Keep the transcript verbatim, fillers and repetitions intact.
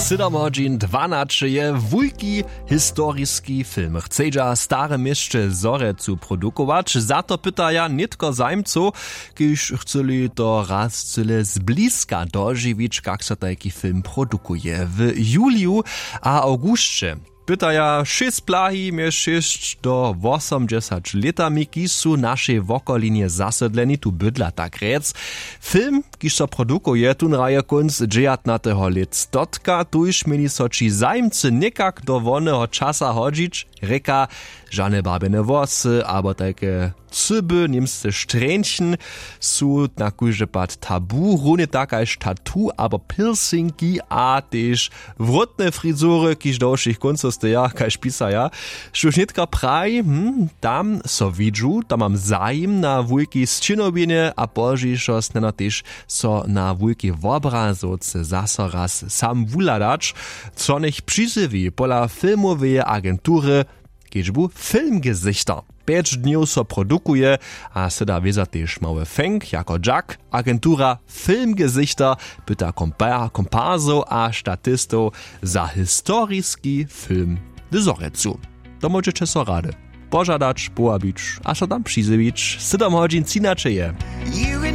Sydom hodźin dwanaće je wulki historiski film chcedźa w starym měsće Zhorjelcu produkować. Za to pytaja nětko zajmcow, kiž chcyli to raz cyle zbliska dožiwić, kak so tajki film produkuje w juliju a awgusće. Pytaja šěsć plahi mjez šěsć do wosomdźesać lětami, kiž su w našej wokolinje zasydleni, tu bydla tak rjec. Film, kiž so produkuje, tón hraje kónc dźewjatnateho lětstotka. Tuž měli so ći zajimcy někak do woneho časa hodźić, rěka, žane barbjene włosy abo tajke cyby, němsce štrjeńchen, su na kóždy pad tabu, runje tak kaž tatu abo piercingi a tež wrótne frizury, kiž do wšěch kóncow steja, kaž pisaja. Štóž nětka praji, hm, tam so widźu, tam mam zajim na wulkej sćěnowinje a pozdźišo snano tež so na wulkej wobrazowce zaso raz sam wuhladać, co njech přizjewi pola filmoweje agentury kedźbu Filmgesichter. Pjeć dnjow so produkuje a syda wěza tež mały fenk jako dźak. Agentura Filmgesichter pyta kompa- komparsow a statistow za historiski film w Zhorjelcu. To móžeće so rady požadać, powabić a so tam přizjewić. Sydom hodźin třinaće je.